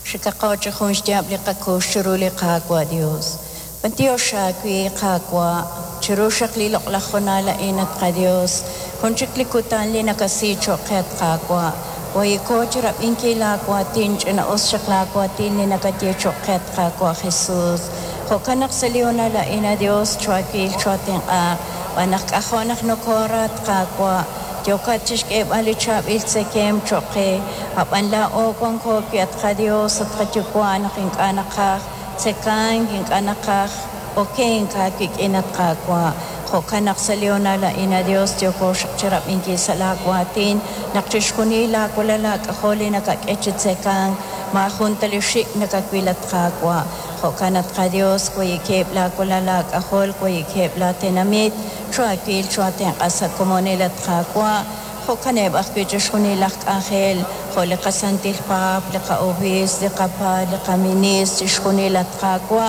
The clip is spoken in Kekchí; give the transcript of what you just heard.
Xikaqo chi jun xyaab' li qakux chiru li Qaawa' Dios. B'antiox aawe, Qaawa', chiru xaq li loq'laj honal a'in, at qaDios, jun chik li kutan li nakasi cho'q qe, at Qaawa'. Wayiko chirab'inkil laawaatin, ch'ina'us xaq laawaatin li nakaye cho'q qe, at Qaawa' Jesus. Jo'kan naq sa' li honal a'in, a Dios, choawil choatenq'aaq, b'an naq k'ajo' naq nokoora, at Qaawa', yookat chixk'eeb'al li chaab'il tzekemq cho'q qe, ab'an laa'o wanko wi' at qaDios, at qaYuwa' naq ink'a' naqaj tzekank, ink'a' naqaj okenk aawik'in, at Qaawa'. Jo'kan naq sa' li honal a'in, a Dios, yooko xaq chirab'inkil sa' laawaatin naq chixjunil laawalal laak'ajol li nakak'e chi tzekank maajun ta li xik' nakawil, at Qaawa'. Jo'kan at qaDios, wayikeb' laawalal laak'ajol, wayikeb' laatenamit, choawil choatenq'a sa' komonil, at Qaawa'. Jo'kaneb' ajwi' chixjunil laj k'anjel, jo' li qasantil paap, li qa'obiisp, li qapaal, li qaministr, chixjunil, at Qaawa'.